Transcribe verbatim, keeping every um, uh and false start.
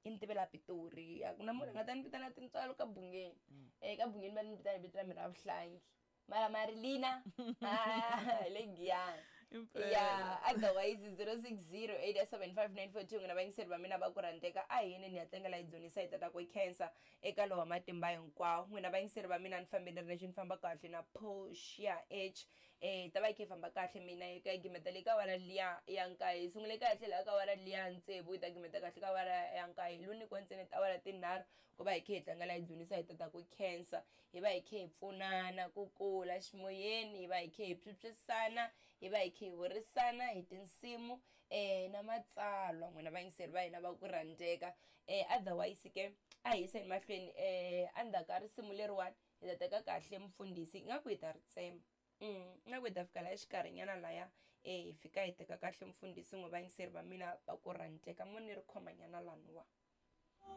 Yi ni tivela Pitori, a ku na munhu a nga ta ni vitana Tintswalo ka Bungeni. um ka Bungeni va ni vitana hi vito ra mina ra vuhlangi, mara Marilina ah, hi le Giyani. Impela. Ya, otherwise zero six zero eight seven five nine four two. N'wina vayingiseri va mina va ku rhandzeka, a hi yeni ni ya tlangela hi dzunisa hi tata ku khensa eka lowa matimba hinkwawo. N'wina vayingiseri va mina, ni fambe ni ri lexi ni famba kahle na Portia H. eh ta va yi kha yi famba kahle mina yi ka yi gimeta le ka awara liya ya nkaye. Hi sungule kahle laha ka awara liya tsevu, yi ta gimeta kahle ka awara ya nkaye. Hi lo nyikiwa ntsena tiawara tinharhu ku va hi kha hi tlangela hi dzunisa hi tata ku khensa, hi va hi kha hi pfunana ku kula ximoyeni, hi va hi kha hi phyuphyisana, hi va hi kha hi burisana hi tinsimu um na matsalwa. N'wina vayingiseri va hina va ku rhandzeka, um otherwise ke a hi yiseni mahlweni. um endzhaku ka risimu leriwani hi ta teka kahle mufundhisi, ingaku hi ta ri tsema. Mm, ingaku hi ta fika laha xikarhinyana laya, um hi fika hi teka kahle mufundhisi. N'we vayingiseri va mina va ku rhandzeka, mo ni ri khomanyana laniwa.